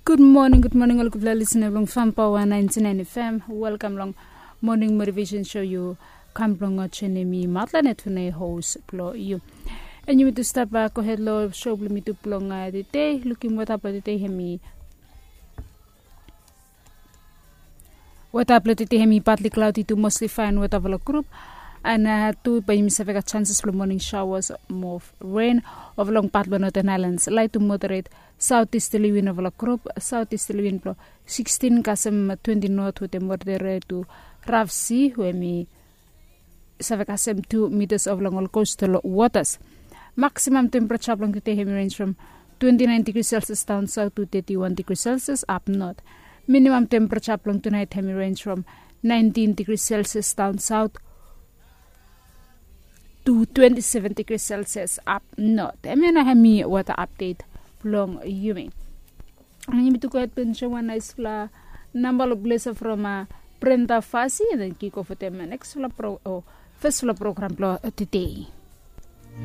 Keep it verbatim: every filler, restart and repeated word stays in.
Gud moning, gud moning ol gudfala lisina blong Fam Paoa naentinnaen F M. Welkam long moning motivesen sho. Yu kam blong joenem mi Matlanet, we mi hos blong yu. An yumi tu stap gohed long sho blong yumi tu blong tede. Lukim weta blong tede, hemi weta blong tede hemi partly cloudy tu mostly fine weta blong grup. An tu bae yumi save gat chances blong moning showers mo ren ova long pat blong Northern Highlands. Light tu moderate southeasterly wind ova long grup, southeasterly wind blong sixteen kasem twenty knot wetem moderate tu rough sea, we hemi save kasem two meters ova long ol coastal waters. Maximum temperature blong tede hemi range from twenty-nine degrees Celsius down south to thirty-one degrees Celsius up north. Minimum temperature blong tonight hemi range from nineteen degrees Celsius down south to twenty-seven degrees Celsius up north. Hemia nao hemi weather update blong yumi. Yumi tu gohed blong soem wan naesfala namba long blesa from Brenda Fassie, and then kick off wetem neksfala pro o fesfala program blong tede.